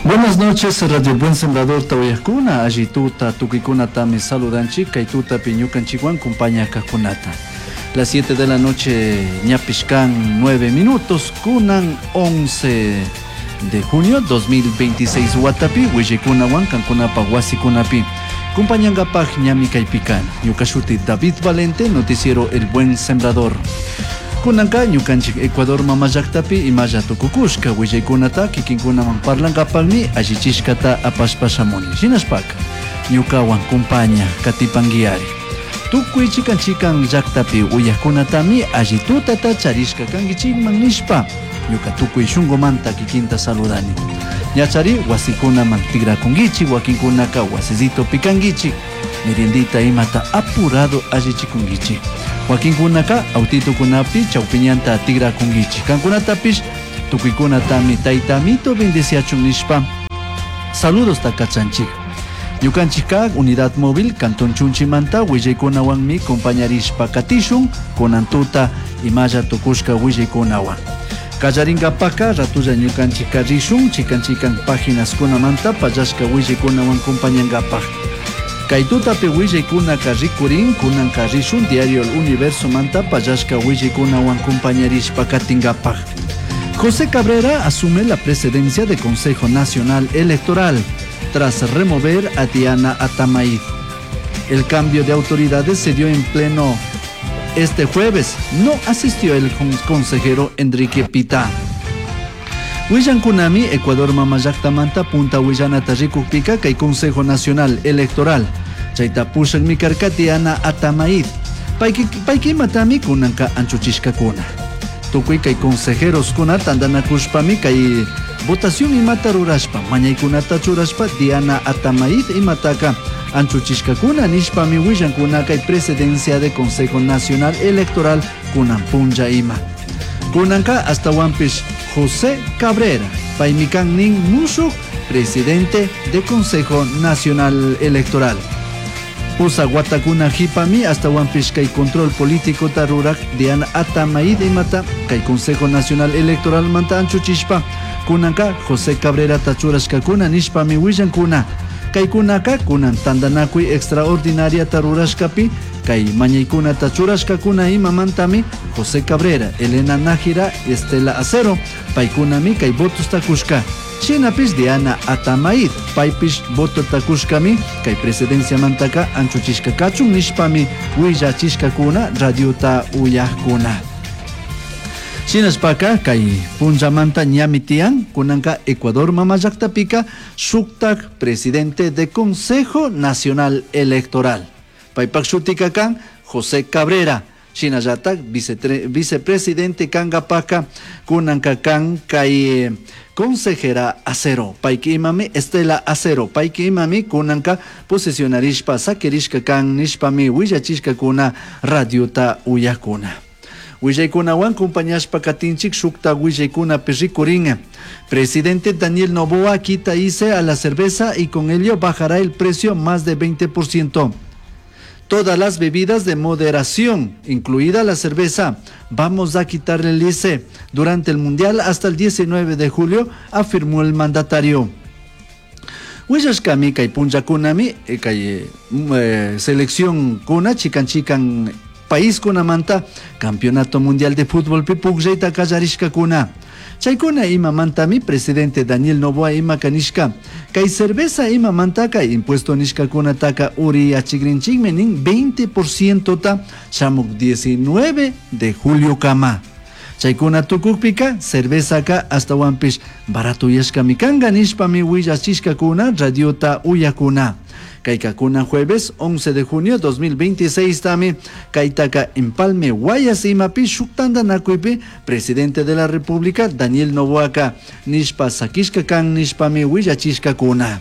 Buenas noches, Radio Buen Sembrador tawayakuna, alli tuta, tukuykunatami saludanchik, kay tutapi ñukanchikwan kumpañakakunata. Las 7 de la noche, ñapish kan 9 minutos, kunan 11 de junio 2026 watapi, willaykunawan kankunapa wasikunapi. Kumpañangapaj ñami kaypi kani. Ñuka shuti David Valente, noticiero El Buen Sembrador. Kunanka ñukanchik Ecuador mama llaktapi imalla tukukushka willaykunata kikinkunaman parlankapakmi allichishkata apashpa shamuni. Shinashpaka ñukawan kumpaña katipanguiari. Tukuy chikan chikan llaktapi uyakunatami alli tutata charishka kankichikman nishpa ñuka tukuy shunkumanta kikinta saludani. Ñachari wasikunaman tigrakunkichik, wakinkunaka wasisitopi kankichik, meriendita imata apurado allichikunkichik. Wakinkunaka autitukunapi chawpiñanta tigrakunkichik. Kankunatapish tukuykunatami tayta Amito bendeciachun nishpa saludos kachanchik. Ñukanchikka unidad móvil Cantón Chunchimanta willaykunawanmi compañarishpa katishun kunan tuta imalla tukushka willaykunawan. Kallarinkapaka ratulla ñukanchikka rishun chikan chikan páginas-kunamanta pallashka willaykunawan compañankapaj. Kay tutapi willaykunaka rikurin kunanka rishun diario El Universo manta pallashka willaykunawan compañarishpa katinkapaj. José Cabrera asume la presidencia del Consejo Nacional Electoral tras remover a Diana Atamaid. El cambio de autoridades se dio en pleno este jueves. No asistió el consejero Enrique Pita. Willankunami, Ecuador mama llaktamanta punta willanata rikukpika kay Consejo Nacional Electoral. Chayta pushakmi karka Diana Atamaid. Paykimatami kunanka anchuchishkakuna. Tukuy kay consejeros kuna tantanakushpami kay votación imata rurashpa, mañaykunata churashpa Diana Atamaid imataka anchuchishkakuna nishpami willankuna kay presidencia de Consejo Nacional Electoral kunan punlla ima. Kunanka astawanpish José Cabrera, paymi kan nin mushuk presidente de Consejo Nacional Electoral. Pusa watakuna hipami astawanpish kay control político rurak Diana Atamaid imata kay Consejo Nacional Electoral manta anchuchishpa kunanka José Cabrera churashkakuna nishpami willankuna. Kaykunaka kunan tantanakuy extraordinaria rurashkapi kay mañaykunata churashkakuna imamantami José Cabrera, Elena Nájera, Estela Acero, paykunami kay votos takushka. Shinapish Diana Atamaid, paypish voto takushkami kay presidencia mantaka anchuchishka kachun nishpami willachishkakuna radiota uyakuna. Shinashpaka kay punllamanta ñami tiyan kunanka Ecuador mama llaktapika shuktak presidente de Consejo Nacional Electoral. Paypak shutika kan José Cabrera. Shinallatak vicepresidente kankapaka kunanka kan kay consejera Acero. Payki imami Estela Acero. Payki imami kunanka posesionarishpa sakirishka kan nishpami willachishkakuna radiota uyakuna. Willaykunawan compañashpa katinchik shukta willaykunapi rikurin. Presidente Daniel Noboa quita ICE a la cerveza y con ello bajará el precio más de 20%. Todas las bebidas de moderación, incluida la cerveza, vamos a quitarle el ICE durante el Mundial hasta el 19 de julio, afirmó el mandatario. Willashkami kay punllakunami, kay selección kuna chikan chikan país kunamanta Campeonato Mundial de Fútbol pi pukllayta kallarishkakuna. Chaykuna imamantami presidente Daniel Noboa ima kanishka. Kay cerveza imamantaka impuesto nishkakunataka uriyachikrinchikmi nin 20% ta shamuk 19 de julio kama. Chaykuna tukukpika cervezaka astawanpish baratuyashkami kanka nishpami willachishkakuna radiota uyakuna. Kaykakuna jueves 11 de junio 2026 tami kaytaka Empalme Guayas imapi shuk tantanakuypi presidente de la República Daniel Noboaka nishpa sakishka kan nishpami willachishkakuna.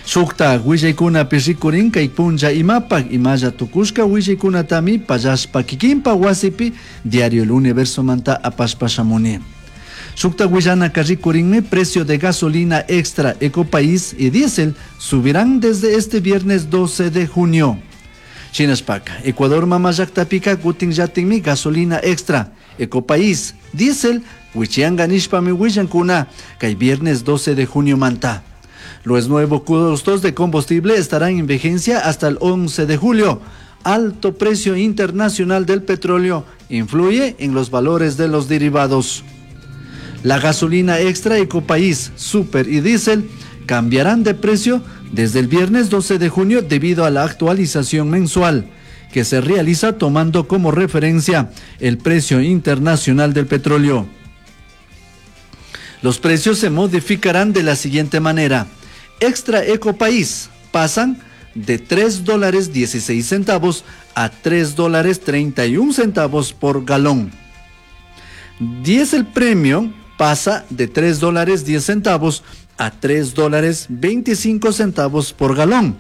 Shukta willaykunapi rikurin kay punlla imapak imalla tukushka willaykunatami pallashpa kikinpa wasipi Diario El Universo manta apashpa shamuni. Shukta willanaka rikurinmi precio de gasolina extra Ecopaís y diésel subirán desde este viernes 12 de junio. Shinashpaka, Ecuador mama llaktapika kutinllatikmi gasolina extra, Ecopaís, diésel, wichiyanka nishpami willankuna kay viernes 12 de junio manta. Los nuevos costos de combustible estarán en vigencia hasta el 11 de julio. Alto precio internacional del petróleo influye en los valores de los derivados. La gasolina extra Ecopaís, Super y Diesel cambiarán de precio desde el viernes 12 de junio debido a la actualización mensual que se realiza tomando como referencia el precio internacional del petróleo. Los precios se modificarán de la siguiente manera. Extra Ecopaís pasan de 3 dólares 16 centavos a 3 dólares 31 centavos por galón. Diesel Premium pasa de 3 dólares 10 centavos a 3 dólares 25 centavos por galón.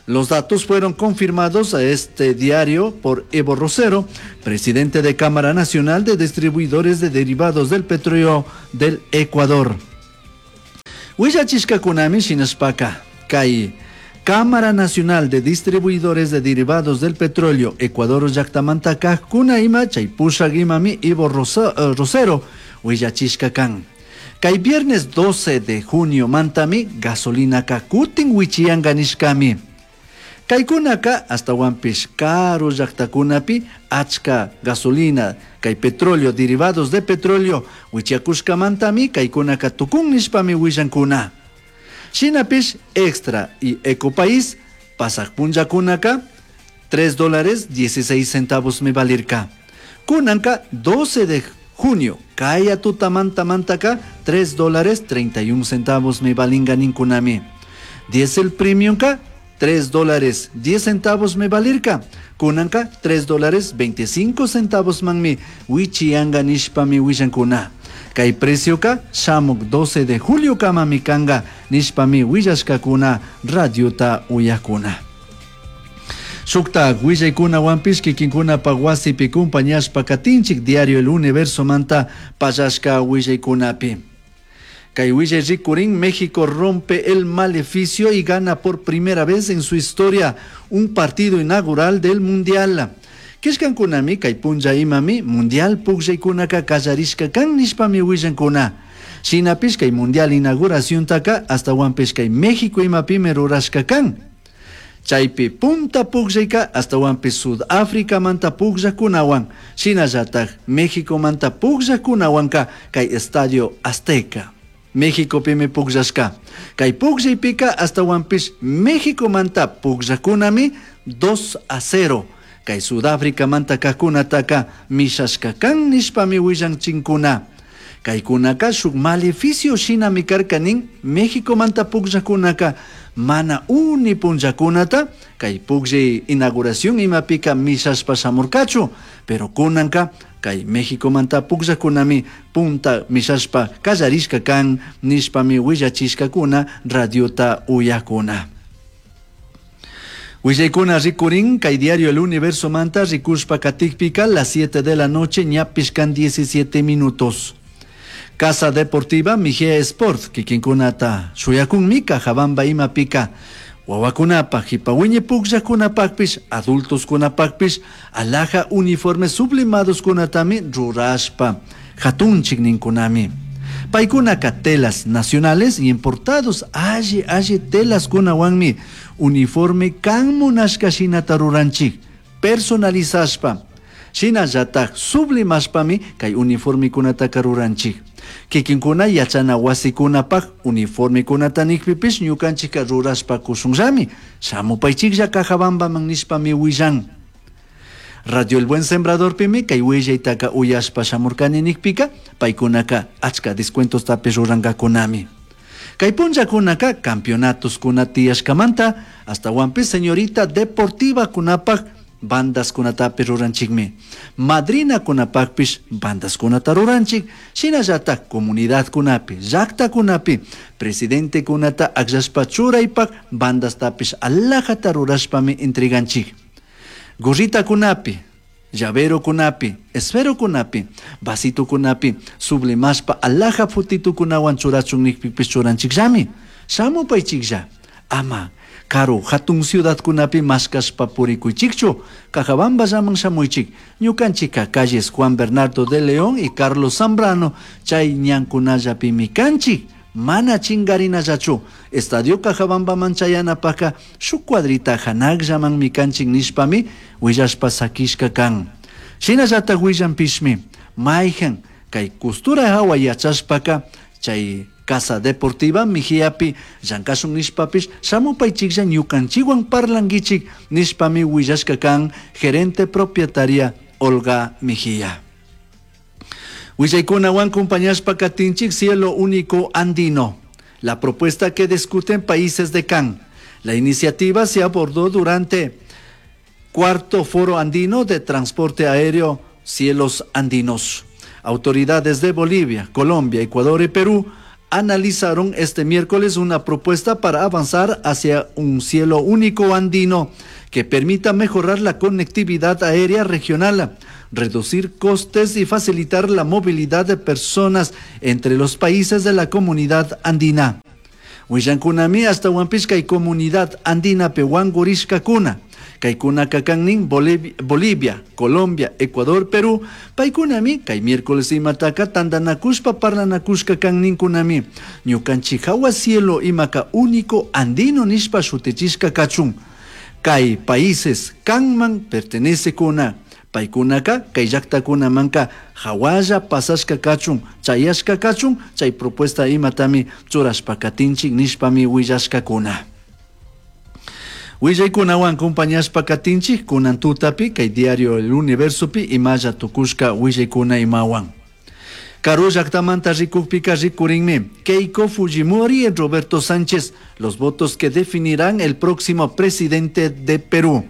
Los datos fueron confirmados a este diario por Evo Rosero, presidente de Cámara Nacional de Distribuidores de Derivados del Petróleo del Ecuador. Willachishkakunami shinashpaka, kay Cámara Nacional de Distribuidores de Derivados del Petróleo, Ecuador llaktamanta kajkuna ima chay pushak imami Evo Rosero, willachishka kan. Kay viernes 12 de junio mantami gasolinaka kutin wichiyanka nishkami. Kaykunaka ashtawanpish karu llaktakunapi achka gasolina, kay petróleo, derivados de petróleo, wichiyakushkamantami kaykunaka tukun nishpami willankuna. Shinapish Extra y Ecopaís pasak punllakunaka 3 dólares 16 centavos mi valirka. Kunanka 12 de junio, kaya tutamanta mantaka 3 dólares 31 centavos mi valinga ninkunami. Diesel Premium ka 3 dólares 10 centavos me valirka. Kunanka 3 dólares 25 centavos manmi wichiyanga nishpami willankuna. Kay precioka shamuk 12 de julio kamami kanga nishpami willashkakuna radiota uyakuna. Shuktak willaykunawanpish kikinkunapak wasipi kumpañashpa katinchik diario El Universo manta pallashka willaykunapi. Kay willay rikurin, México rompe el maleficio y gana por primera vez en su historia un partido inaugural del Mundial. Kishkankunami kay punlla imami Mundial pukllaykunaka kallarishka kan nishpami willankuna. Shinapish kay Mundial inauguraciontaka ashtawanpish kay México imapimi rurashka kan. Chaypi punta pukllayka ashtawanpish Sudáfrica manta pukllakunawan, shinallatak México manta pukllakunawanka kay Estadio Azteca. México pimi pukllashka. Kay pukllaypika ashtawanpish México manta pukllakunami 2-0. Kay Sudáfrica manta kajkunataka mishashka kan nishpami willanchinkuna. Kaykunaka shuk maleficio shinami karka nin México manta pukllakunaka mana uni punllakunata kay pukllay inauguración imapika mishashpa shamurkachu, pero kunanka kay México manta pukllakunami punta mishashpa kallarishka kan nishpami willachishkakuna radiota uyakuna. Willaykuna rikurin kay diario El Universo manta rikushpa katikpika las 7 de la noche ñapishkan 17 minutos. Casa Deportiva Mijea Sport, kikinkunata shuyakunmi Cajabamba imapika. Wawakunapaj, jipawiñi pukllakunapajpish, adultos kunapajpish, alhaja uniformes sublimados kunatami rurashpa, hatunchik ninkunami. Paykunaka telas nacionales y importados, alli alli telas kunawanmi, uniforme kan munashka shinata ruranchik, personalizashpa. Shinallataj sublimashpami kay uniformekunataka ruranchik. Kikinkuna yachana wasikunapaj uniformekunata nikpipish ñukanchikka rurashpa kushunllami. Shamupaychiklla Cajabambaman nishpami willan. Radio El Buen Sembradorpimi kay willaytaka uyashpa shamurkani nikpika paykunaka achka descuentostapish rurankakunami. Kay punllakunaka campeonatos kuna tiyashkamanta ashtawanpish señorita deportiva kunapaj bandas kunatapish ruranchikmi. Madrina kunapajpish bandas kunata ruranchik, shinallatak comunidad kunapi, llakta kunapi, presidente kunata akllashpa churaypak bandastapish alhajata rurashpami entreganchik. Gorrita kunapi, llavero kunapi, esfero kunapi, vasito kunapi, sublimashpa alhaja fotito kunawan churachun nikpipish churanchikllami. Shamupaychiklla. Ama karu hatun ciudadkunapi mashkashpa purikuychikchu, Cajabamballaman shamuychik. Ñukanchikka calles Juan Bernardo de León y Carlos Zambrano chay ñankunallapimi kanchik. Mana chingarinallachu. Estadio Cajabambaman chayanapajka shuk cuadrita hanakllamanmi kanchik nishpami willashpa sakishka kan. Shinallatak willanpishmi mayhan kay costura hawa yachashpaka chay Casa Deportiva Mejiapi llankashun nishpapish shamupaychiklla ñukanchikwan parlankichik nishpami willashka kan gerente propietaria Olga Mejía. Willaykunawan compañashpa katinchik Cielo Único Andino. La propuesta que discuten países de CAN. La iniciativa se abordó durante cuarto Foro Andino de Transporte Aéreo Cielos Andinos. Autoridades de Bolivia, Colombia, Ecuador y Perú analizaron este miércoles una propuesta para avanzar hacia un cielo único andino que permita mejorar la conectividad aérea regional, reducir costes y facilitar la movilidad de personas entre los países de la comunidad andina. Willankunami ashtawanpish kay comunidad andina wankurishkakuna. Kaykunaka kannin Bolivia, Colombia, Ecuador, Perú. Paykunami kay miércoles imataka tantanakushpa parlanakushka kanninkunami. Ñukanchik hawa cielo imaka único andino nishpa shutichishka kachun. Kay países kanman pertenecekuna. Paykunaka kay llaktakunamanka hawalla pasashka kachun, chayashka kachun, chay propuesta imatami churashpa katinchik nishpami willashkakuna. Willaykunawan compañashpa katinchik kunan tutapi kay diario El Universopi imalla tukushka willaykuna imawan. Karu llaktamanta rikukpika rikurinmi Keiko Fujimori y Roberto Sánchez, los votos que definirán el próximo presidente de Perú.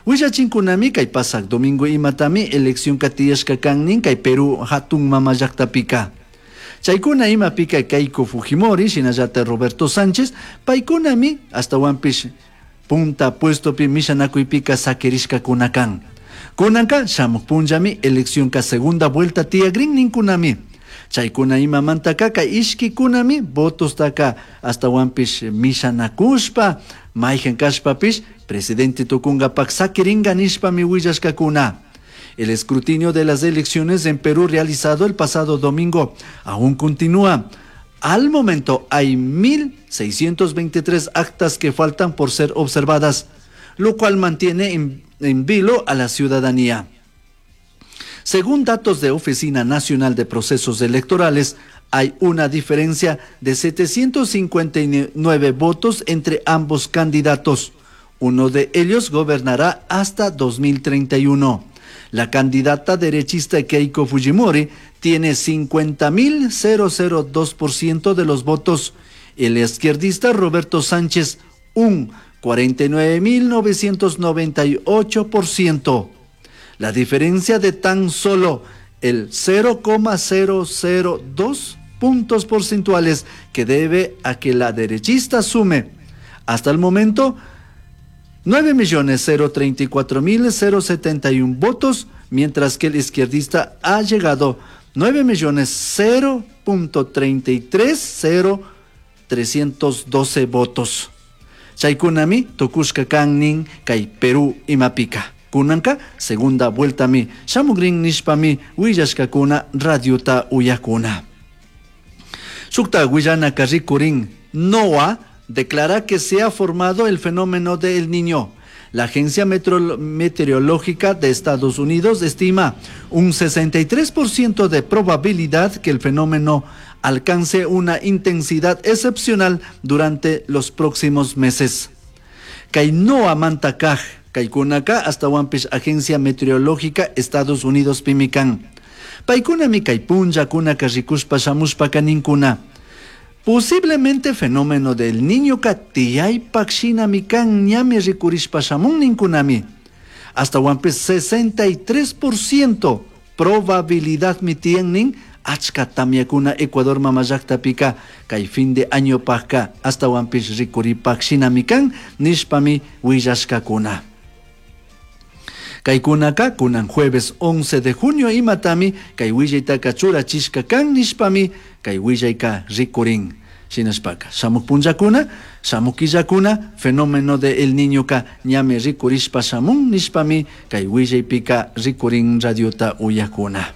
Willachinkunami kay pasak domingo imatami elección katiyashka kannin kay Perú hatun mama llaktapika. Chaykuna imapika Keiko Fujimori shinallata Roberto Sánchez paykunami ashtawanpish punta puestopi mishanakuypika sakirishkakuna kan. Kunanka shamuk punllami eleccionka segunda vuelta tiyagrin ninkunami. Chaykuna imamantaka kay ishkikunami votostaka ashtawanpish mishanakushpa mayhan kashpapish presidente tukungapak sakiringa nishpami willashkakuna. El escrutinio de las elecciones en Perú realizado el pasado domingo aún continúa. Al momento hay 1.623 actas que faltan por ser observadas, lo cual mantiene en vilo a la ciudadanía. Según datos de Oficina Nacional de Procesos Electorales, hay una diferencia de 759 votos entre ambos candidatos. Uno de ellos gobernará hasta 2031. La candidata derechista Keiko Fujimori tiene 50.002% de los votos. El izquierdista Roberto Sánchez, un 49.998%. La diferencia de tan solo el 0,002 puntos porcentuales que debe a que la derechista sume hasta el momento 9.034.071 votos, mientras que el izquierdista ha llegado 9.033.312 votos. Chaykunami tukushka kannin kay Perú imapika. Kunanka segunda vuelta mi shamugrin nishpami willashkakuna radiota uyakuna. Shukta willanaka rikurin NOAA declara que se ha formado el fenómeno del Niño. La Agencia Meteorológica de Estados Unidos estima un 63% de probabilidad que el fenómeno alcance una intensidad excepcional durante los próximos meses. Kay NOAA mantakaj, kaykunaka ashtawanpish Agencia Meteorológica Estados Unidos pimi kan. Paykunami kay punllakunaka rikushpa shamushpaka ninkuna. Posiblemente fenómeno del niño tiyaypak shinami kan ñami rikurishpa shamun ninkunami. Ashtawanpish 63% probabilidad mi tiyan nin achka tamyakuna Ecuador mama llaktapika kay fin de año pajka ashtawanpish rikuripak shinami kan nishpami willashkakuna. Kaykunaka kunan jueves 11 de junio imatami kay willaytaka churachishka kan nishpami kay willayka rikurin. Shinashpaka shamuk punllakuna, shamuk killakuna fenómeno de El Niñoka ñami rikurishpa shamun nishpami kay willaypika rikurin radiota uyakuna.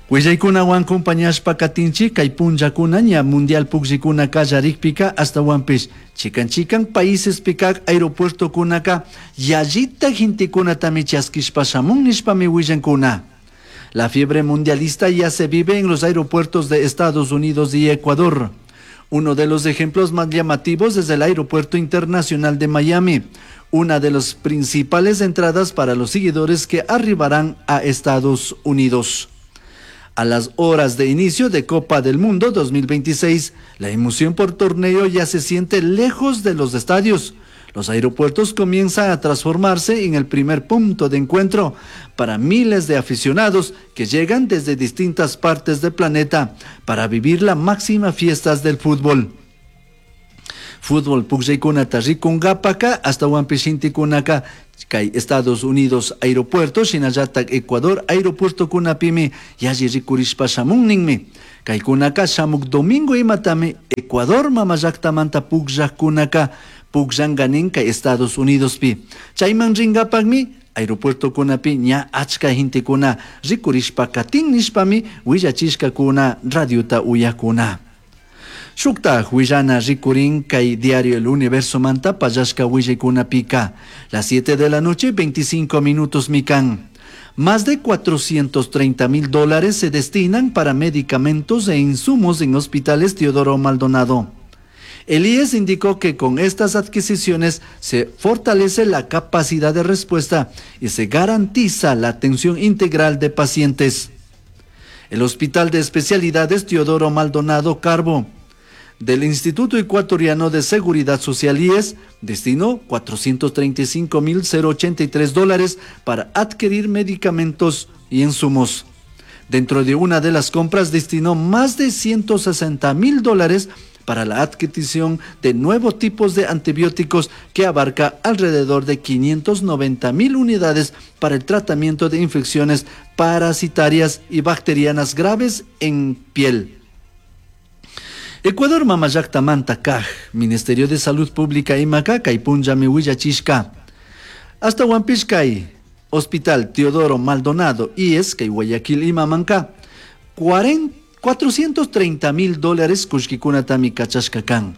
Willaykunawan compañashpa katinchik kay punllakuna ña mundial pukllikuna kallarikpika ashtawanpish chikan chikan paísespika aeropuertokunaka yallita gentekunatami chaskishpa shamun nishpami willankuna. La fiebre mundialista ya se vive en los aeropuertos de Estados Unidos y Ecuador. Uno de los ejemplos más llamativos es el Aeropuerto Internacional de Miami, una de las principales entradas para los seguidores que arribarán a Estados Unidos. A las horas de inicio de Copa del Mundo 2026, la emoción por torneo ya se siente lejos de los estadios. Los aeropuertos comienzan a transformarse en el primer punto de encuentro para miles de aficionados que llegan desde distintas partes del planeta para vivir la máxima fiestas del fútbol. Fútbol pukllaykunata rikunkapaka ashtawanpish gentekunaka kay Estados Unidos aeropuerto shinallatak Ecuador aeropuertokunapimi yalli rikurishpa shamun ninmi. Kaykunaka shamuk domingo imatami Ecuador mama llaktamanta pukllakkunaka pukllanka nin kay Estados Unidospi. Chayman rinkapakmi aeropuertokunapi ña achka gentekuna rikurishpa katin nishpami willachishkakuna radiota uyakuna. Shuktaj willana rikurin kay diario El Universo manta pallashka willaykunapika. Las 7 de la noche, 25 minutos mikan. Más de 430 mil dólares se destinan para medicamentos e insumos en hospitales Teodoro Maldonado. El IES indicó que con estas adquisiciones se fortalece la capacidad de respuesta y se garantiza la atención integral de pacientes. El Hospital de Especialidades Teodoro Maldonado Carbo del Instituto Ecuatoriano de Seguridad Social IES destinó 435.083 dólares para adquirir medicamentos y insumos. Dentro de una de las compras destinó más de 160 mil dólares para la adquisición de nuevos tipos de antibióticos que abarca alrededor de 590 mil unidades para el tratamiento de infecciones parasitarias y bacterianas graves en piel. Ecuador mama llaktamanta kaj, Ministerio de Salud Pública imaka kay punllami willachishka. Ashtawanpish kay Hospital Teodoro Maldonado IES kay Guayaquil imamanka 430 mil dólares kullkikunatami kachashka kan.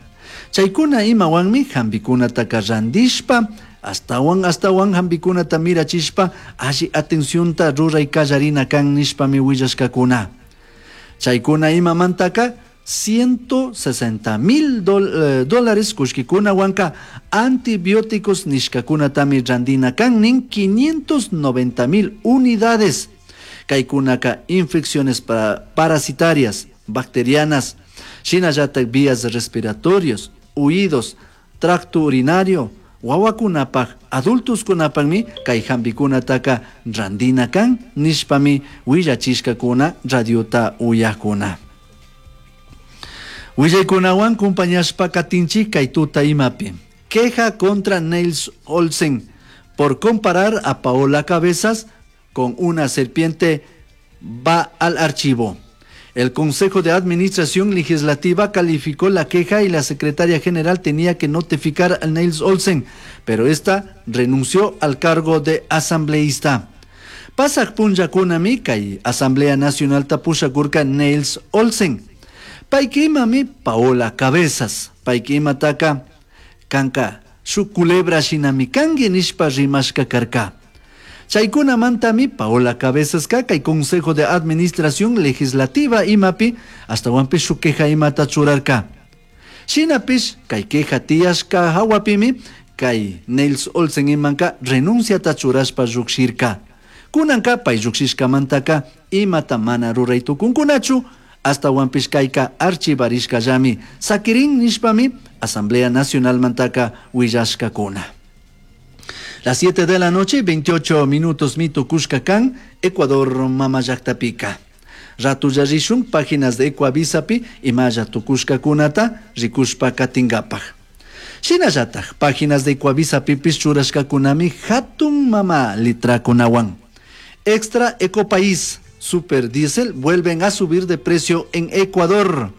Chaykuna imawanmi hampikunataka randishpa, ashtawan ashtawan hampikunata mirachishpa alli atencionta ruray kallarina kan nishpami willashkakuna. Chaykuna imamantaka 160 mil dólares kullkikunawanka antibióticos nishkakunatami randina kan nin 590 mil unidades. Kaykunaka infecciones parasitarias, bacterianas, shinallatak vías respiratorios, oídos, tracto urinario, wawakunapaj, adultoskunapakmi kay hampikunataka randina kan nishpami willachishkakuna radiota uyakuna. Willaykunawan compañashpa katinchik kay tuta imapi. Queja contra Niels Olsen por comparar a Paola Cabezas con una serpiente va al archivo. El Consejo de Administración Legislativa calificó la queja y la secretaria general tenía que notificar a Niels Olsen, pero esta renunció al cargo de asambleísta. Pasak punllakunami kay Asamblea Nacional tapushakurka Niels Olsen. Paykimami Paola Cabezas. Paykimataka kanka shuk culebra shinami kanki nishpa rimashka karka. Chaykunamantami Paola Cabezas kay Consejo de Administración Legislativa imapi ashtawanpish shuk queja imata churarka. Shinapish kay queja tiyashka hawapimi kay Niels Olsen imanka renunciata churashpa llukshirka. Kunanka pay llukshishkamantaka imata mana ruray tukunkunachu ashtawanpish kayka archivarishkallami sakirin nishpami Asamblea Nacional mantaka willashkakuna. Las 7 de la noche, 28 minutos mito Cuscacán, Ecuador mama llaktapika. Ratulla rishun páginas de Ecuavisapi imalla tukushkakunata rikushpa katinkapak. Shinallatak páginas de Ecuavisapipish churashkakunami hatun mama litrakunawan. Extra Ecopaís, Super Diesel vuelven a subir de precio en Ecuador.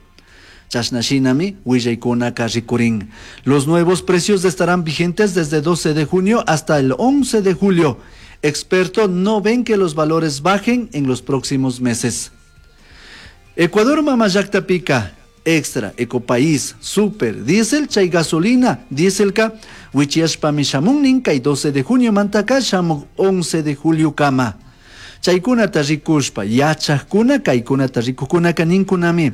Chashna shinami willaykunaka rikurin. Los nuevos precios estarán vigentes desde 12 de junio hasta el 11 de julio. Expertos no ven que los valores bajen en los próximos meses. Ecuador mama llaktapika, Extra, Ecopaís, Super, Diesel, chay gasolina, dieselka, wichiyashpami shamun nin kay 12 de junio mantaka shamuk 11 de julio kama. Chaykunata rikushpa, yachajkuna, kaykunata rikujkunaka ninkunami.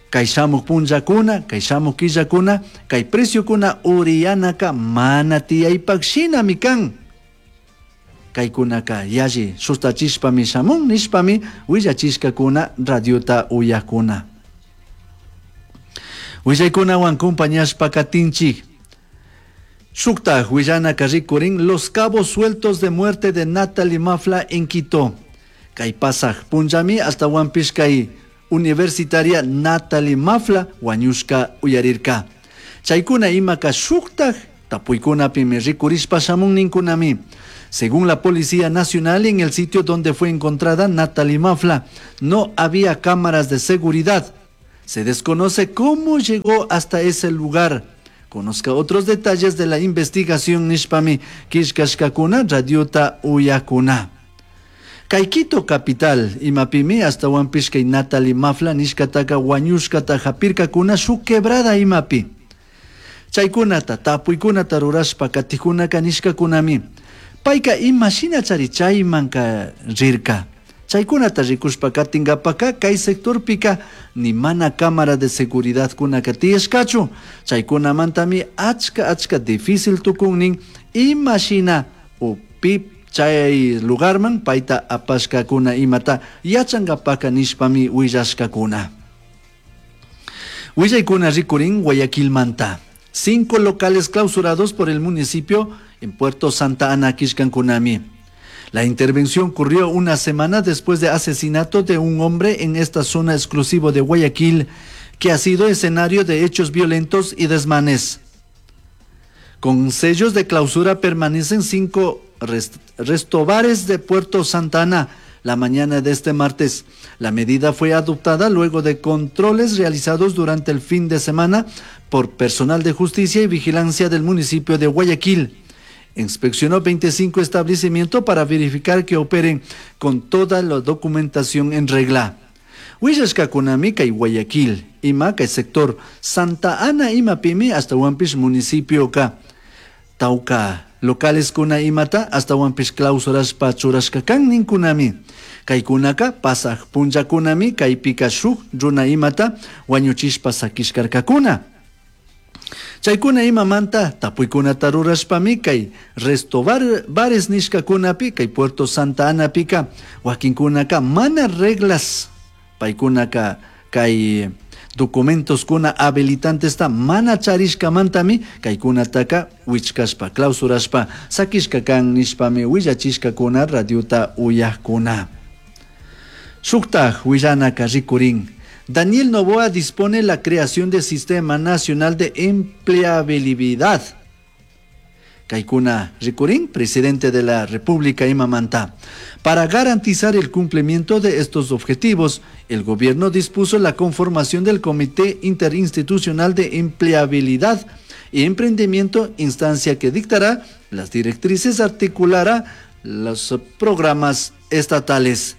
Kay shamuk punllakuna, kay shamuk killakuna, kay preciokuna uriyanaka mana tiyaypak shinami kan. Kaykunaka yalli sustachishpami shamun nishpami willachishkakuna radiota uyakuna. Willaykunawan compañashpa katinchik. Shuktaj willanaka rikurin los cabos sueltos de muerte de Natalie Mafla en Quito. Kay pasaj punllami ashtawanpish kay universitaria Natalie Mafla wañushka uyarirka. Chaykuna imaka shuktaj tapuykunapimi rikurishpa shamun ninkunami. Según la Policía Nacional, en el sitio donde fue encontrada Natalie Mafla, no había cámaras de seguridad. Se desconoce cómo llegó hasta ese lugar. Conozca otros detalles de la investigación nishpami killkashkakuna radiota uyakuna. Kay Quito capital imapimi ashtawanpish kay Natalie Mafla nishkataka wañushkata hapirkakuna shuk quebrada imapi. Chaykunata tapuykunata rurashpa katijkunaka nishkakunami. Payka ima shinachari chaymanka rirka. Chaykunata rikushpa katinkapaka kay sectorpika ni mana cámara de seguridad kunaka tiyashkachu. Chaykunamantami achka achka difícil tukunnin ima shina o pi chay lugarman payta apashkakuna imata yachankapaka nishpami willashkakuna. Willaykuna rikurin Guayaquilmanta. 5 locales clausurados por el municipio en Puerto Santa Ana, Kishkankunami. La intervención ocurrió una semana después de asesinato de un hombre en esta zona exclusiva de Guayaquil, que ha sido escenario de hechos violentos y desmanes. Con sellos de clausura permanecen 5 restobares de Puerto Santa Ana la mañana de este martes. La medida fue adoptada luego de controles realizados durante el fin de semana por personal de justicia y vigilancia del municipio de Guayaquil. Inspeccionó 25 establecimientos para verificar que operen con toda la documentación en regla. Willashkakunami kay Guayaquil, ima kay sector Santa Ana imapimi ashtawanpish municipio ka tauka locales kuna imata ashtawanpish clausurashpa churashka kan ninkunami. Kaykunaka pasaj punllakunami kaypika shuk runa imata wañuchishpa sakishkarkakuna. Chaykuna imamanta tapuykunata rurashpami kay resto bares nishkakunapi kay Puerto Santa Anapika wakinkunaka mana reglas paykunaka kay documentos kuna habilitantesta mana charishkamantami kaykunataka wichkashpa clausurashpa sakishka kan nishpami willachishkakuna radiota uyajkuna. Shuktaj willanaka rikurin. Daniel Noboa dispone la creación del Sistema Nacional de Empleabilidad. Kaikuna Rikurin, presidente de la República imamanta. Para garantizar el cumplimiento de estos objetivos, el gobierno dispuso la conformación del Comité Interinstitucional de Empleabilidad y Emprendimiento, instancia que dictará las directrices, articulará los programas estatales.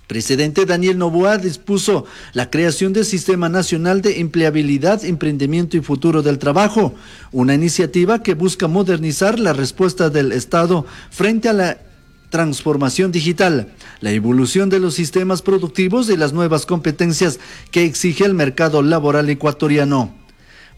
Presidente Daniel Noboa dispuso la creación del Sistema Nacional de Empleabilidad, Emprendimiento y Futuro del Trabajo, una iniciativa que busca modernizar la respuesta del Estado frente a la transformación digital, la evolución de los sistemas productivos y las nuevas competencias que exige el mercado laboral ecuatoriano.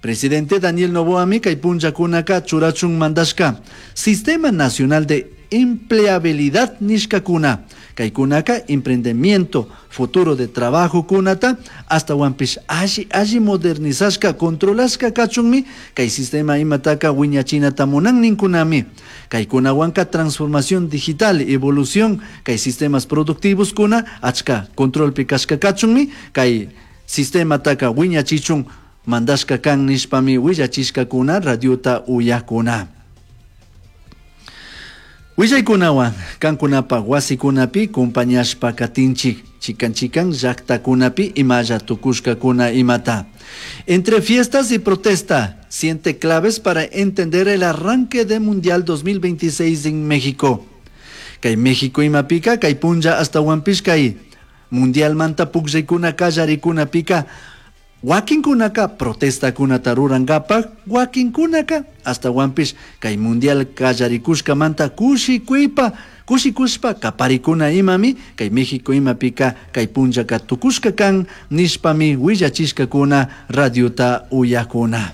Presidente Daniel Noboa kay punllakunaka churachun mandashka, Sistema Nacional de Empleabilidad nishkakuna, kaykunaka emprendimiento, futuro de trabajo kunata, ashtawanpish alli alli modernizashka, controlashka kachunmi, kay sistema imataka wiñachinata munan ninkunami, kaykunawanka transformación digital, evolución, kay sistemas productivos kuna, achka controlpi kashka kachunmi, kay sistemataka wiñachichun mandashka kan nishpami willachishkakuna radiota uyakuna. Willaykunawan kankunapaj wasikunapi kumpañashpa katinchik chikan chikan llaktakunapi imalla tukushkakuna imata. Entre fiestas y protesta, siete claves para entender el arranque de Mundial 2026 en México. Kay México imapika kay punlla ashtawanpish kay Mundialmanta pukllaykuna kallarikunapika wakinkunaka protestakunata rurankapak, wakinkunaka ashtawanpish kay Mundial kallarikushkamanta kushikuypa kushikushpa kaparikuna imami kay México imapika kay punllaka tukushka kan nishpami willachishkakuna radiota uyakuna.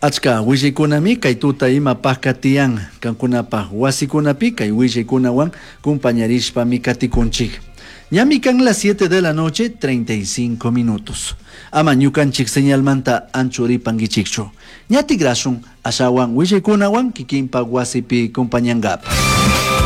Achka willaykunami kay tuta imapajka tiyan kankunapaj wasikunapi kay willaykunawan kumpañarishpami katikunchik. Ñami kan las 7 de la noche 35 minutos. Ama ñukanchik señalmanta anchuripankichikchu. Ña tikrashun ashawan willaykunawan kikinpak wasipi kumpañankapa.